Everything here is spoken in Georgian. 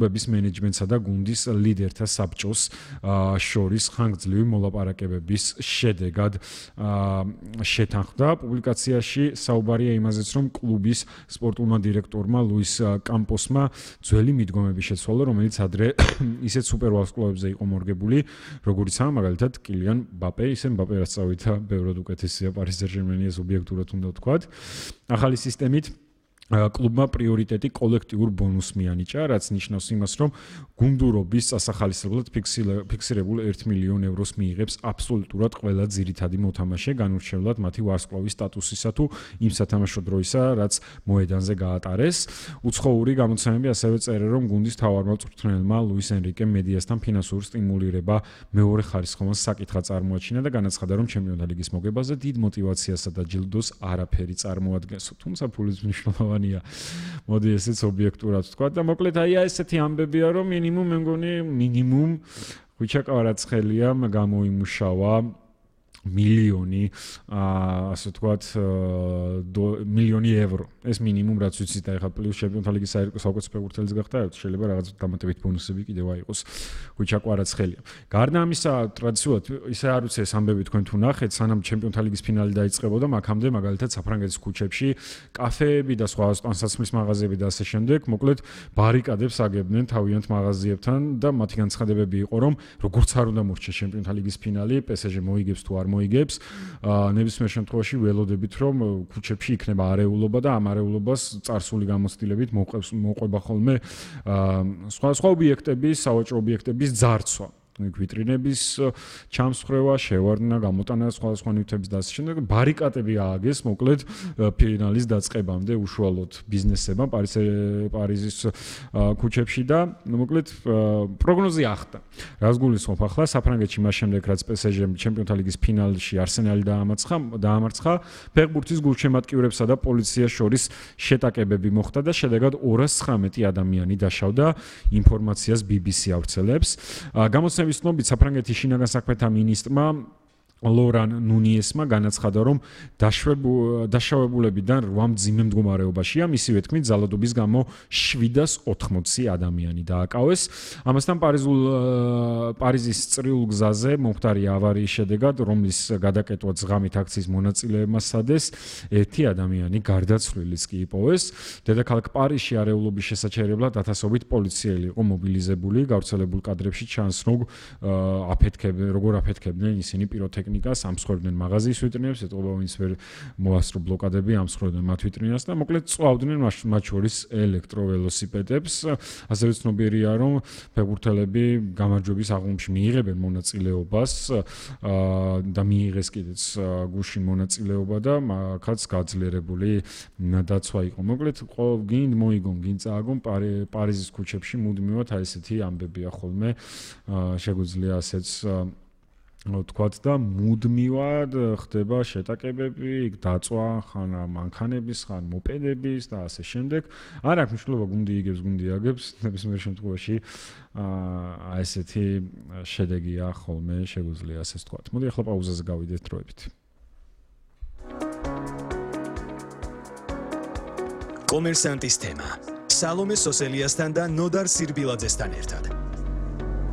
კლუბების მენეჯმენტსა და გუნდის ლიდერთა საბჭოს შორის ხანგრძლივი მოლაპარაკებების შედეგად შეთანხმდა. პუბლიკაციაში საუბარია იმაზეც, რომ კლუბის სპორტულმა დირექტორმა ლუის კამპოსმა ძველი მიდგომები შეცვალა, რომელიც ადრე ისეთ სუპერვარსკვლავებზე იყო მორგებული, როგორიცაა მაგალითად კილიან მბაპე, ისე მბაპე რაც წავიდა, ბევრად უკეთესია პარი სენ-ჟერმენის ობიექტურად უნდა ვთქვათ. ახალი სისტემით კლუბმა პრიორიტეტი კოლექტიურ ბონუსს მიანიჭა, რაც ნიშნავს იმას, რომ გუნდურობის წასახალისებლად ფიქსირებულ 1 მილიონ ევროს მიიღებს აბსოლუტურად ყველა ძირითადი მოთამაშე, განურჩევლად მათი ვარსკვლავის სტატუსისა თუ იმ სათამაშო დროისა, რაც მოედანზე გაატარეს. უცხოური გამოცემები ასევე წერენ, რომ გუნდის მთავარმა მწვრთნელმა ლუის ენრიკემ მედიასთან ფინანსური სტიმულირება მეორე ხარისხოვან საკითხად წარმოაჩინა და განაცხადა, რომ ჩემპიონთა ლიგის მოგებაზე დიდ мотиваციასა და ჯილდოს არაფერი წარმოადგენს. თუმცა ფულის მნიშვნელოვანი მოდი ესეც ობიექტურად ვთქვა და მოკლედ ესეთი ამბებია, რომ მე მგონი მინიმუმ ხვიჩა კვარაცხელია გამოიმუშავა მილიონი ასე ვთქვათ მილიონი ევრო. ეს მინიმუმ რაც ვიცით და ეხლა პლუს ჩემპიონთა ლიგის საუკეთესო ფეხბურთელის გახდა, შეიძლება რაღაც დამატებით ბონუსები კიდევ აიღოს ხვიჩა კვარაცხელია. გარდა ამისა, ტრადიციულად ისე არ ვიცი ეს ამბები თქვენ თუ ნახეთ, სანამ ჩემპიონთა ლიგის ფინალი დაიწყებოდა, მაქამდე მაგალითად საფრანგეთის ქუჩებში კაფეები და სხვა ტანსაცმლის მაღაზიები და ასე შემდეგ, მოკლედ ბარიკადებს აგებდნენ თავიანთ მაღაზიებთან და მათი განცხადებები იყო, რომ როგორც არ უნდა მორჩეს ჩემპიონთა ლიგის ფინალი, PSG მოიგებს თუ არ მოიგებს, ნებისმიერ შემთხვევაში ველოდებით, რომ ქუჩებში იქნება არეულობა და ამ არეულობას წარსული გამოცდილებით მოყვება ხოლმე სხვა ობიექტების, სავაჭრო ობიექტების ძარცვა. ვიტრინების ჩამსხვრევა, შევარდნა, გამოტანა სხვა ნივთების და ასე შემდეგ. ბარიკადები ააგეს, მოკლედ ფინალის დაწყებამდე უშუალოდ ბიზნესებმა პარიზის ქუჩებში და მოკლედ პროგნოზი ახდა. რას გულისხმობ ახლა საფრანგეთში მას შემდეგ, რაც PSG-მ ჩემპიონთა ლიგის ფინალში არსენალი დაამარცხა, ფეხბურთის გულშემატკივრებსა და პოლიციას შორის შეტაკებები მოხდა და შედეგად 219 ადამიანი დაშავდა, ინფორმაციას BBC ავრცელებს. გამოცემის ცნობით საფრანგეთის შინაგან საქმეთა მინისტრმა ლორან ნუნიესმა განაცხადა, რომ დაშავებულებიდან 8 მძიმე მდგომარეობაშია, მისივე თქმით, ძალადობის გამო 780 ადამიანი დააკავეს. ამასთან პარიზის წრიულ გზაზე მომხდარი ავარიის შედეგად, რომლის გადაკეტვა ღამით აქციის მონაწილეებმა სადეს, 1 ადამიანი გარდაცვლილიც კი იპოვეს. დედაქალაქ პარიზში არეულობის შესაჩერებლად ათასობით პოლიციელი იყო მობილიზებული, გავრცელებულ კადრებში ჩანს, როგორ აფეთქებდნენ ისინი პიროტექნიკას, ამსხვერდნენ მაღაზიის ვიტრინებს, ეტყობა ვინც ვერ მოასწრო ბლოკადები, ამსხვერდნენ მათ ვიტრინას და მოკლედ წვავდნენ მათ შორის ელექტროველოსიპედებს. ასევე ცნობიერია, რომ ფეხბურთელები გამარჯვების აღლუმში მიიღებენ მონაწილეობას და მიიღეს კიდეც გუშინ მონაწილეობა და მაგაც გაძლიერებული დაცვა იყო. მოკლედ გინდ მოიგონ, გინდ წააგონ პარიზის ქუჩებში მუდმივად ესეთი ამბებია ხოლმე, შეგვიძლია ასეც ვთქვათ და მუდმივად ხდება შეტაკებები, დაწვა ხან მანქანების, ხან მოპედების და ასე შემდეგ. არ აქვს მნიშვნელობა გუნდი იგებს, გუნდი აგებს, ნებისმიერ შემთხვევაში ესეთი შედეგია ხოლმე, შეგვიძლია ასე ვთქვათ. მოდი ახლა პაუზაზე გავიდეთ დროებით. კომერსანტის თემა. სალომე სოსელიასთან და ნოდარ სირბილაძესთან ერთად.